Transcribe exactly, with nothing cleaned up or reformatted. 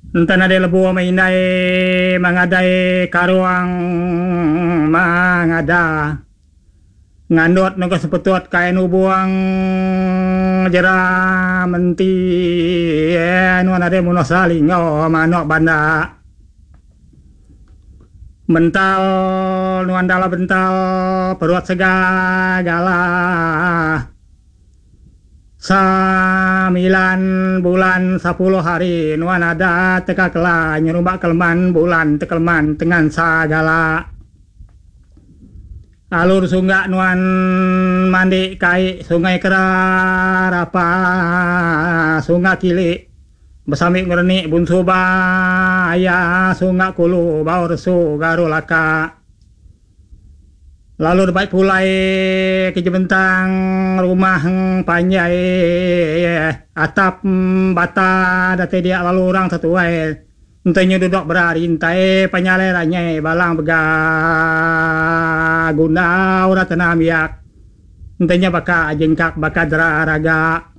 Enta nadai lebuh meh indai mengadai karung mengada ngandut nengah sepetut kain ubung jera menti nuan nadai munuh salingo manuk banda. Mental nuan dalam bental perut segala. Samilan bulan sapuloh hari nuan ada teka kela nyerumba keleman bulan tekeleman tengan sagala. Alur sungga nuan mandi kai sungai kerarapa sunga kili besambi ngerenik bunsu baya sunga kulu bau resu garu laka. Lalu debai pulai ke jebentang rumah panjai atap bata datai dia lalu orang setuai enti nyu dudok berarintai penyalai ranyai balang bega gunda orang tenam biak enti nya baka jengkak baka dera raga.